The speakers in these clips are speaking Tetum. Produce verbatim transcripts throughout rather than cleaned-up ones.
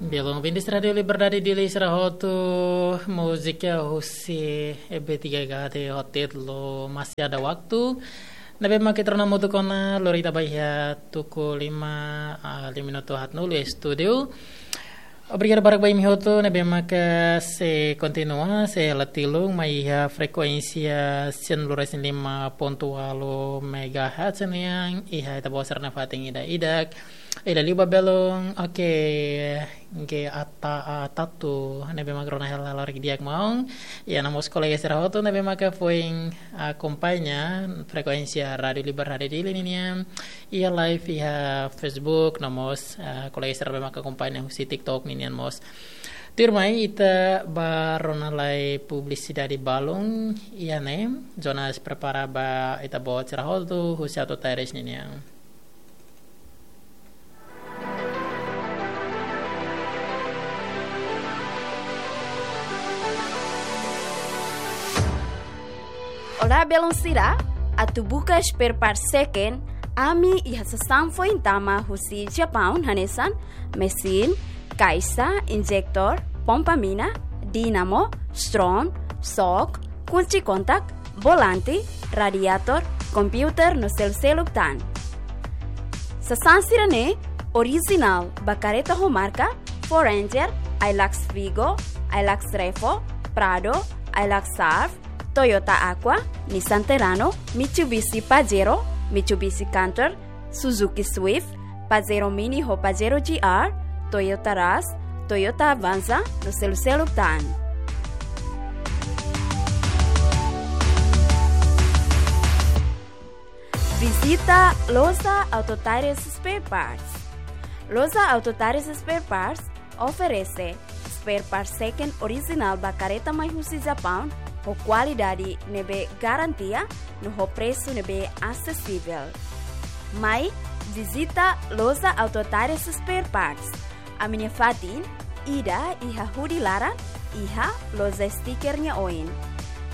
Belun ouvintes Rádiu Liberdade Dili sira hotu, múzika husi E B tiga H D ho títulu Masih Ada Waktu. Ne'ebé mak ita rona hamutuk ona, lori ita ba iha tuku lima, ah, lima minutu haat-nulu iha estúdiu. Obrigadu barak ba imi hotu ne'ebé mak sei kontinua, sei la tilun mai iha frekuénsia sembilan puluh lima pontu walu megahertz nian, iha ita-boot sira-nia fatin ida-idak. Ida liu ba belun, oke, G A T A Tatu, ne'ebé mak rona hela lori di'ak maun. Iha ona mós kolega sira hotu ne'ebé mak foin akompaña frekuénsia Rádiu Liberdade Dili ninian iha live iha Facebook, no mós, ah, kolega sira ne'ebé mak akompaña husi TikTok ninian mós. Tuirmai ita ba rona lai publisidade balun, iha ne'e, Jonas prepara ba ita-boot sira hotu husi Auto Tires ninian. Olá, belun sira, atu buka spare part second, ami iha sasán foin tama husi Japaun hanesan, mesin, kaixa, injektór, pompa mina, dínamo, strom, sok, kunci kontak, volante, radiator, kompiuter no selu-seluk tan. Sasán sira-ne'e orijinál ba kareta ho marka, Ford Ranger, Hilux Vigo, Hilux Revo, Prado, Hilux Surf, Toyota Aqua, Nissan Terrano, Mitsubishi Pajero, Mitsubishi Canter, Suzuki Swift, Pajero Mini ho Pajero G R, Toyota Rush, Toyota Avanza, no selu-seluk tan. Vizita Loja Auto Tires Spare Parts. Loja Auto Tires Spare Parts oferese spare part second orijinál ba kareta mai husi Japaun, ho kualidade ne'ebé garantia, no ho presu ne'ebé asesivel. Mai vizita Loja Auto Tires Spare Parts. Ami-nia fatin ida iha hudi laran, iha loja stiker nia oin.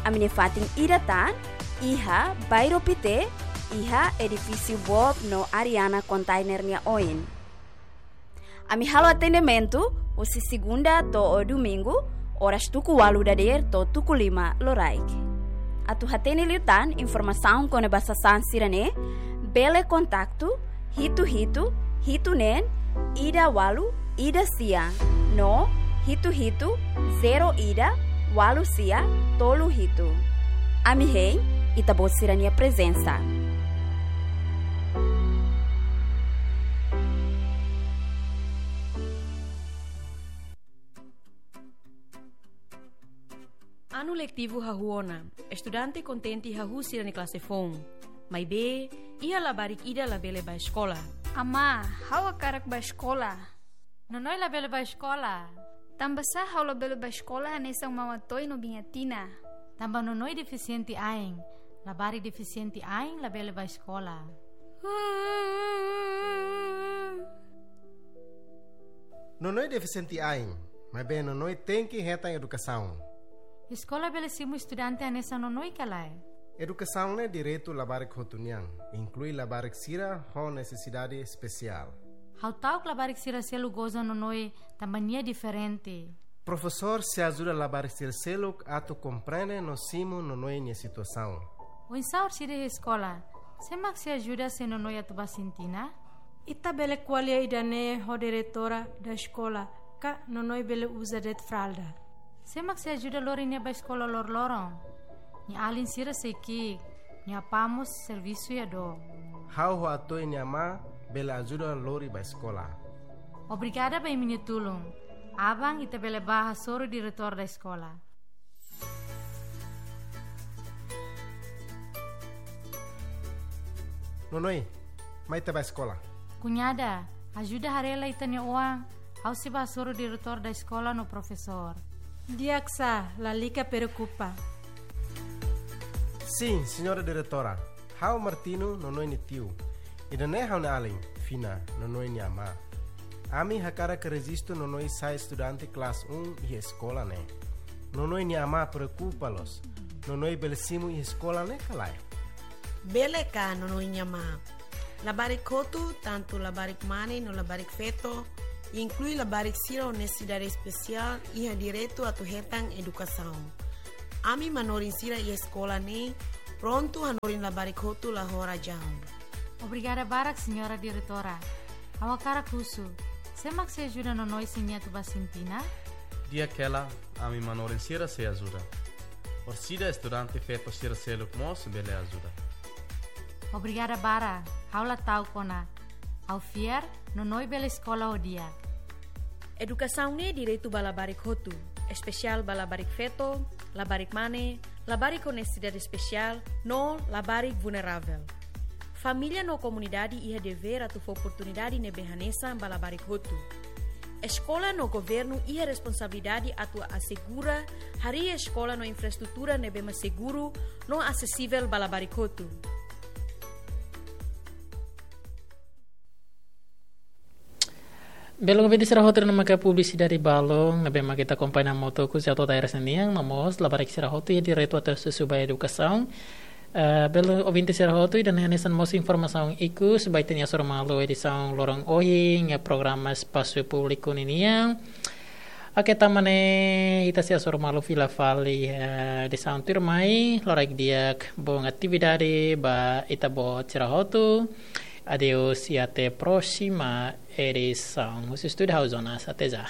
Ami-nia fatin ida tan iha Bairro Pité, iha edifísiu Bob no Ariana Container nia oin. Ami halo atendimentu husi segunda to'o domingu, oras tuku walu dadeer to'o tuku lima loraik. Atu hatene liután informasaun kona-ba sasán sira-ne'e, bele kontaktu hitu hitu hitu neen ida walu ida sia no hitu hitu zero ida walu sia tolu hitu. Ami hein ita-boot sira-nia prezensa. Anu letivu hahú ona, estudante kontente hahú sira-nia klase foun. Maibé, iha labarik ida labele bá eskola. Amá, ha'u hakarak bá eskola. Nonoi labele bá eskola. Tanbasá ha'u labele bá eskola hanesan Mama Toy no Biña Tina? Tanba Nonoi defisiente ain. Labarik defisiente ain labele bá eskola. Nonoi defisiente ain, maibé Nonoi tenke hetan edukasaun. Eskola bele simu estudante hanesan Nonoi ka lae? Edukasaun ne'e direitu labarik hotu nian, inklui labarik sira ho nesesidade espesiál. Ha'u ta'uk labarik sira seluk goza Nonoi tanba nia diferente. Profesór sei ajuda labarik sira seluk atu komprende no simu Nonoi nia situasaun. Oinsá orsida iha eskola? Sé mak sei ajuda se Nonoi atu bá sintina? Ita bele ko'alia ida-ne'e ho diretora da eskola, ka Nonoi bele uza de'it fralda. Sé mak sei ajuda lori nia bá eskola loroloron? Nia alin sira sei ki'ik, nia apá mós servisu iha dook. Ha'u ho Atoy nia amá bele ajuda lori bá eskola. Obrigada ba imi-nia tulun. Aban ita bele bá hasoru diretór da eskola. Nonoi, mai ita bá eskola. Kuñada, ajuda haree lai ita-nia oan, ha'u sei bá hasoru diretór da eskola no profesór. Di'ak sá, lalika preokupa. Sin, señora diretora. Ha'u Martino, Nonoi nia tiu. Ida-ne'e ha'u-nia alin, Fina, Nonoi nia amá. Ami hakarak rejistu Nonoi sai estudante klase um iha eskola ne'e. Nonoi nia amá preokupa loos. Nonoi bele simu iha eskola ne'e ka lae? Bele ka, Nonoi nia amá? Labarik hotu, tantu labarik mane no labarik feto, inklui labarik sira ho nesesidade espesiál iha direitu atu hetan edukasaun. Ami manorin sira iha eskola ne'e prontu hanorin labarik hotu la ho razaun. Obrigada barak, Señora Diretora. Ha'u hakarak husu, sé mak sei ajuda Nonoi sira-nia atu ba Sintina? Di'ak hela, ami manorin sira sei ajuda. Orsida estudante feto sira seluk mós bele ajuda. Obrigada barak, ha'u la ta'uk ona. Ha'u fiar, Nonoi bele eskola ho di'ak. Edukasaun ne'e direitu ba labarik hotu, espesiál ba labarik feto, labarik mane, labarik ho nesesidade espesiál, no labarik vulneravel. Família no komunidade iha devér atu fó oportunidade ne'ebé hanesan ba labarik hotu. Eskola no governu iha responsabilidade atu asegura harii eskola no infraestrutura ne'ebé mak seguru no asesivel ba labarik hotu. Belun ouvinte sira hotu, ne'e maka publisidade balun ne'ebé mak ita akompaña Moto Kusi Auto Tires nian, no mós labarik sira hotu iha direitu atu asesu ba edukasaun. Eh, belun ouvinte sira hotu, ida-ne'e hanesan mós informasaun ikus ba ita-nia Hasoru Malu edisaun loron ohin iha programa Espasu Públiku ninian. Oke, tanba ne'e ita sei hasoru malu fila fali, eh, edisaun tuirmai, loraik di'ak, bom atividade ba ita-boot sira hotu. Adeus e até próxima edição. Husi estúdiu ha'u Jonas, até já.